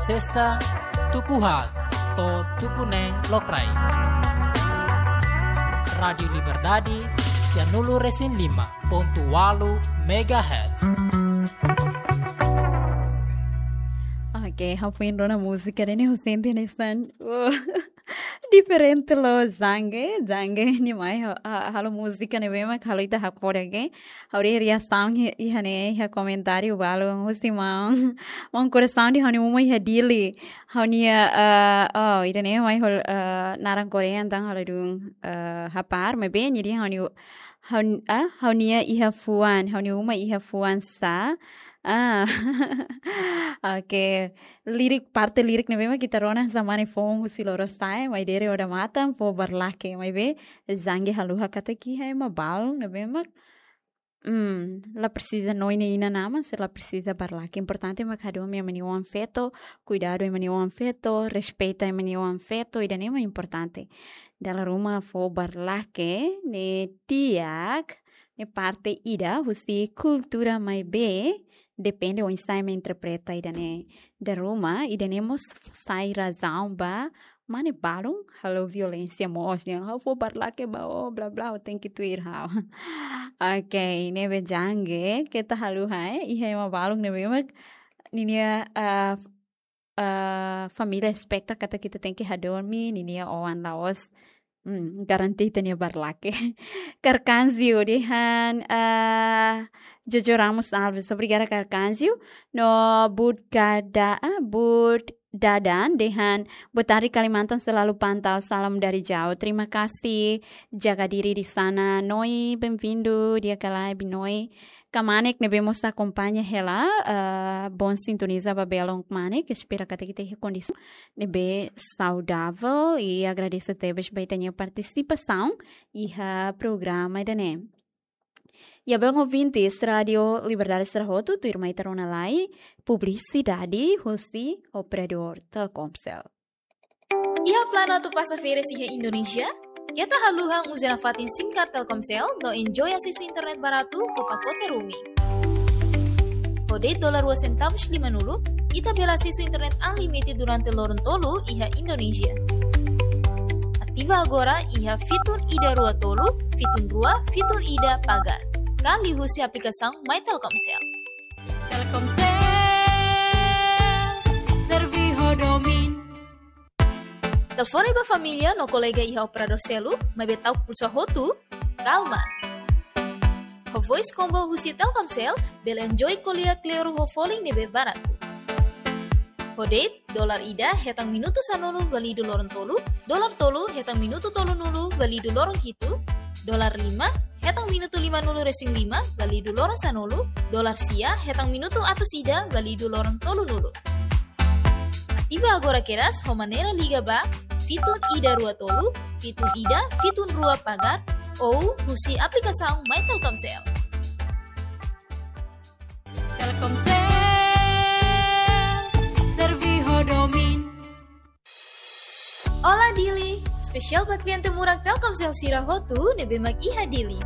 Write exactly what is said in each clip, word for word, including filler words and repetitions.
Testa tuku haat to'o tuku neen lokraik. Rádiu Liberdade, sianulu resin lima pontu ualu megahertz. Oke, ha'u foin rona múzika ne'e, ha'u sente hanesan, wow, diferente loos Zange, Zange nia mai ha-, ha-, halo múzika ne'ebé mak halo ita hakfodak. Ha'u haree reasaun iha, iha ne'e, iha komentáriu balu, husi maun, maun korasaun dehan ha'u-nia uma iha Dili. Ha'u-nia, eh, oh, ida-ne'e mai halo, eh, naran Korea entaun halo dun, eh, hapar, maibé nia dehan ha'u-nia, ha'u-, ah, ha'u-nia iha fuan, ha'u-nia uma iha fuan sá. Ah. Oke. Lirik, parte lirik ne'ebé mak ita rona hanesan mane foun husi lorosa'e, Maidere odamatan, foho barlake, maibé Zange haluha katak iha ema balun ne'ebé mak, hmm, la presiza noin nia inan-aman, se la presiza barlake. Importante mak hadomi ema nia oan-feto, kuidadu ema nia oan-feto, respeita ema nia oan-feto, ida-ne'e mak importante. Dala ruma foho barlake ne'e di'ak, ne'e parte ida husi kultura, maibé depende oinsá ema interpreta ida-ne'e. Dala ruma, ida-ne'e mós sai razaun ba mane balun halo violénsia mós, dehan ha'u foho barlake ba ó, bla bla, ó tenke tuir ha'u. Oke, ne'ebé Zange, keta haluha, eh, iha ema balun ne'ebé mak ninia, ah, ah, família espeta katak ita tenke hadomi ninia oan la'ós, hmm, garante ita-nia barlake. Carcanzio dehan, ah, Jojo Ramos Alves, obrigada Carcanzio. No Bud Gada, ah, Bud Dadan dehan, boa tarde Kalimantan, selalu pantau, salam dari jauh. Terima kasih, jaga diri di sana. Noi, bem-vindo, di'ak ka lae, Noi. Kmanek ne'ebé mós akompaña hela, eh, bom sintoniza ba belun kmanek, espera katak ita iha kondisaun ne'ebé saudavel, i agradese tebes ba ita-nia partisipasaun iha programa ida-ne'e. Iha belun ouvintes Rádiu Liberdade sira hotu, tuirmai ita rona lai publisidade husi operadór Telkomcel. Iha planu atu pasa férias iha Indonézia? Keta haluha uza nafatin SIM card Telkomcel no enjoy asesu internet baratu ho pakote roaming. Ho de'it dolar rua sentavus lima-nulu, ita bele asesu internet unlimited durante loron tolu iha Indonézia. Ativa agora iha fitun ida rua tolu, fitun rua, fitun ida pagar. Ka liuhusi aplikasaun My Telkomcel. Telkomcel, serve ho domin. Telefone ba família no kolega iha operadór seluk, maibé ta'uk pulsa hotu, kalma. Ho voice combo husi Telkomcel, bele enjoy ko'alia kleur ho folin ne'ebé baratu. Ho de'it, dolar ida hetan minutu sanulu válidu loron tolu, dolar tolu hetan minutu tolunulu válidu loron hitu, dolar lima hetan minutu lima-nulu resin lima válidu loron sanulu, dolar sia hetan minutu atus ida válidu loron tolunulu. Ativa agora kedas ho maneira liga ba fitun ida rua tolu, fitun ida, fitun rua pagar, ou husi aplikasaun My Telkomcel. Telkomcel, serve ho domin. Olá Dili, espesiál ba kliente murak Telkomcel sira hotu ne'ebé mak iha Dili.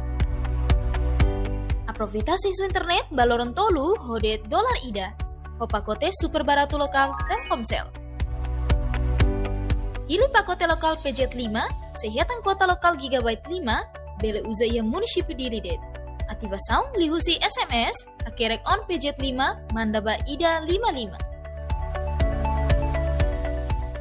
Aproveita asesu internet ba loron tolu ho de'it dolar ida, ho pakote super baratu lokál Telkomcel. Hili pakote lokál P Z lima, sei hetan kuota lokál gigabyte lima, bele uza iha munisípiu Dili de'it. Ativasaun liuhusi S M S, hakerek on P Z lima, manda ba ida lima lima.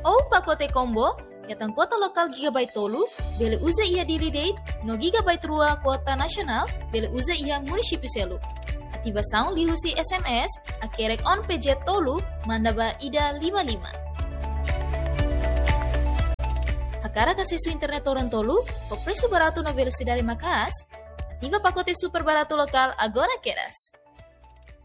Ou pakote combo, hetan kuota lokál gigabyte tolu, bele uza iha Dili de'it, no gigabyte rua kuota nasionál, bele uza iha munisípiu seluk. Ativasaun liuhusi S M S, hakerek on P Z tolu, manda ba ida lima lima. Hakarak asesu internet loron tolu, ho presu baratu no velosidade maka'as, ativa pakote super baratu lokál agora kedas.